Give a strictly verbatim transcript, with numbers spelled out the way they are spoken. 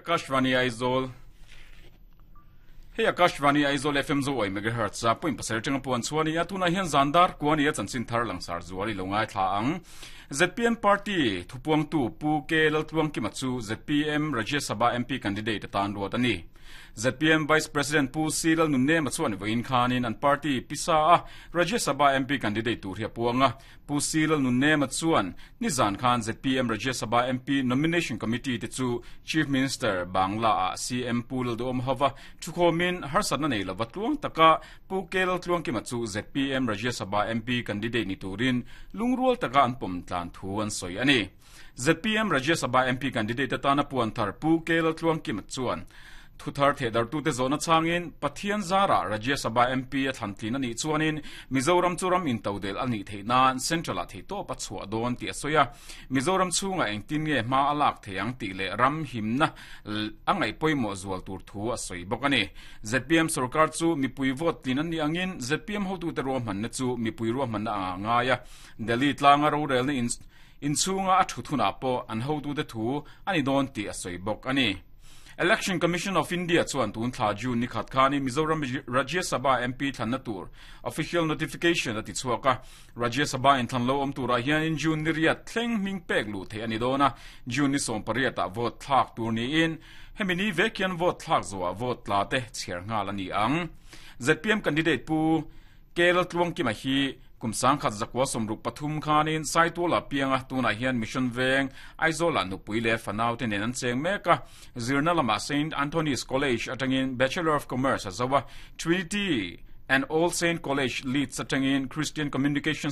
Akashvani Aizawl Hei Akashvani Aizawl F M zo oi megahertz a point pasarih atanga puan chuan a tuna hian zandar kuani a chanchin thar langsar zuali lo ngai thla ang Z P M party thupuang tu Pu K Laltluang Kima chu Z P M Rajya Sabha M P candidate atan ruat ani Z P M Vice President Pu C Lal Nunne ma chuan voin khanin an party pisa a Rajya Sabha M P candidate tur hi apuanga Pu C Lal Nunne ma chuan nizan khan Z P M Rajya Sabha M P nomination committee te chu Chief Minister Bangla a C M Pu Lalduhoma hova thukhomin harsatna nei lova tluang taka Pu K Laltluang Kima chu Z P M Rajya Sabha M P candidate ni turin lungrual taka an pom tlan thu an soi ani Z P M Rajya Sabha M P candidate atana puan thar Pu K Laltluang Kima chuan thuthar thedar tu te zona changin Pathian zara Rajya Sabha M P a thantlin ani chuanin Mizoram churam in todel ani theinan central a theito pachua don ti asoya Mizoram chunga engtin nge ma alak theyang ti le ram himna angai poimo zual tur thu asoi bokani Z P M sarkar chu mipui vote lin ani angin Z P M hotu te ro man na chu mipui ro man na anga ya Delhi tlanga ro rel ni in in chunga a thuthuna po an hotu te thu ani don ti asoi bok ani Election Commission of India chuan tun thla June ni khat khani Mizoram Rajya Sabha M P thlanna tur official notification ati chuaka Rajya Sabha in thlan lo om tura hian in June ni riat thleng ming pek lu the ani dona June ni som pariata vote thlak tur ni in hemini vekian vote thlak zowa vote la te chiar nga la ni ang Z P M candidate Pu K Laltluang Kima hi kumsang khat zakwa somruk pathum khanin saitola pianga tuna hian mission veng Aizola nupui le fanau te nen an cheng meka zirna lama Saint Anthony's College atangin Bachelor of Commerce azawa Trinity and All Saint College Leeds atangin Christian Communication